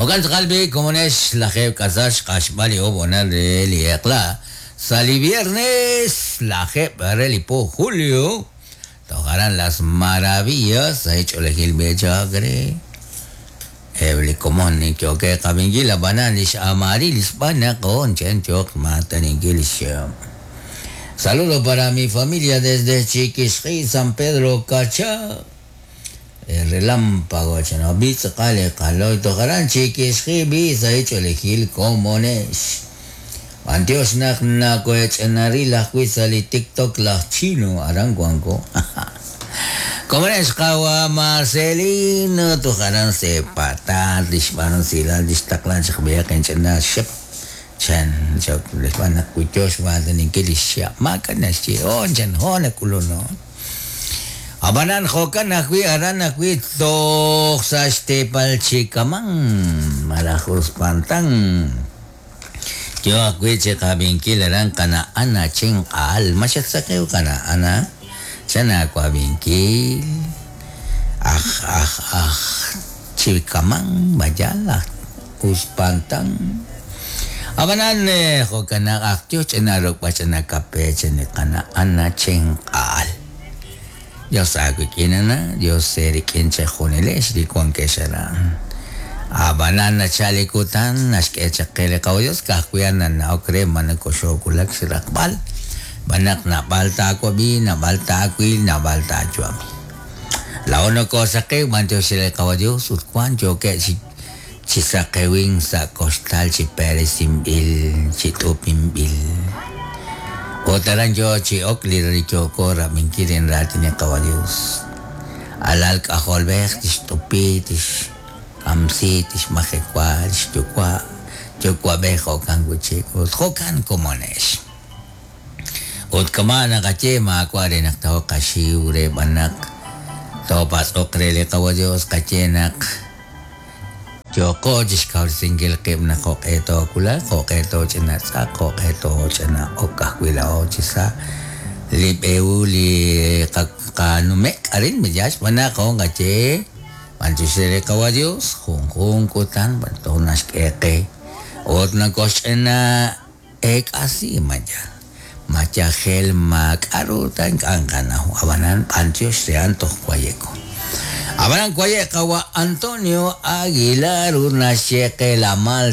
Jo'kan tz'aqal b'i' komonex 10 xq'axb'al li oob' honal re li eq'la sa' li viernes lajeeb' re li po julio toj aran Las Maravillas sa' xch'oolejil b'e chaq re eb' li komon yookeb' qab'inkil ab'anan lix Amarilis b'an naq on chen yooq maataninkil lix Saludo para mi familia desde Chiquixqi, San Pedro Cacha. El relámpago chan bi tz'aqal li qaloy toj aran Chiquixqi bi sa' xch'oolejil komonex. B'antiox naq nakohech'anaril ajwi' sa' li TikTok laj Chino aran wanko. Komonex qawa Marcelino toj aran sepatat lix b'aanusilal lix taqlan chaq b'ihaq inch'ina xep chan chok lix b'an naq kuyox maataninkil lix xihab' maak'a' naxye hoon chan hoon nak'ulun hoon. Ab'anan jo'kan ajwi' aran ajwi' toj sa' xteepal Chikaman malaj Uspantán yo ajwi' chi qab'inkil aran qana' Ana Chinq'aal ma xatsaqiw qana' Ana chan aawab'inkil aj aj aj Chikaman mayal aj Uspantán ab'anan jo'kan naq aj yo ch'ina ruk'b'al ch'ina kape chan li qana' Ana Chinq'aal. Dios aawik'in ana, Dios eerik'in chejunilex li wankex aran. Ab'anan nachal li kutan naxk'e chaq qe li qawa Dios ka'ajwi' a'an nana'ok re ma nakoxoowulak xraqb'al xb'aan naq naab'al taawab'i, naab'al taawil, naab'al taayu'ami. Laa'o nokoosaqew b'antiox re li qawa Dios ut wank yookeb' chi chi saqewink sa' koxtal chi peresinb'il, chi t'upinb'il. Ut aran yo chi ok li yooko rab'inkil rik'in raatin li qawa Dios. Alal k'ajolb'ej tixt'upi, tixkamsi, tixmajewa lix yuwa', yuwa'b'ej jo'kan wi'chik ut jo'kan komonex. Ut kama' naqaye maawa' re naq tooqaxiw re b'an naq toopatz'oq re li qawa Dios qaye naq yooko chixkawresinkil qib' naq jo'q'e toowulaq, jo'q'e tooch'ina tz'aq, jo'q'e tooch'ina ok ajwi' laa'o chi sa' li b'eewu li qanumek' arin miyaal xb'aan naq jo'kan qaye b'antiox re li qawa Dios junjun kutan b'an toj naxk'e qe ut nakoxch'ina eek'asi mayal mayajel maak'a'ru ta ink'a' nqanaw ab'anan b'antiox re a'an toj wayeko. Ab'anan waye' qawa Antonio Aguilar ut naxye qe la mal.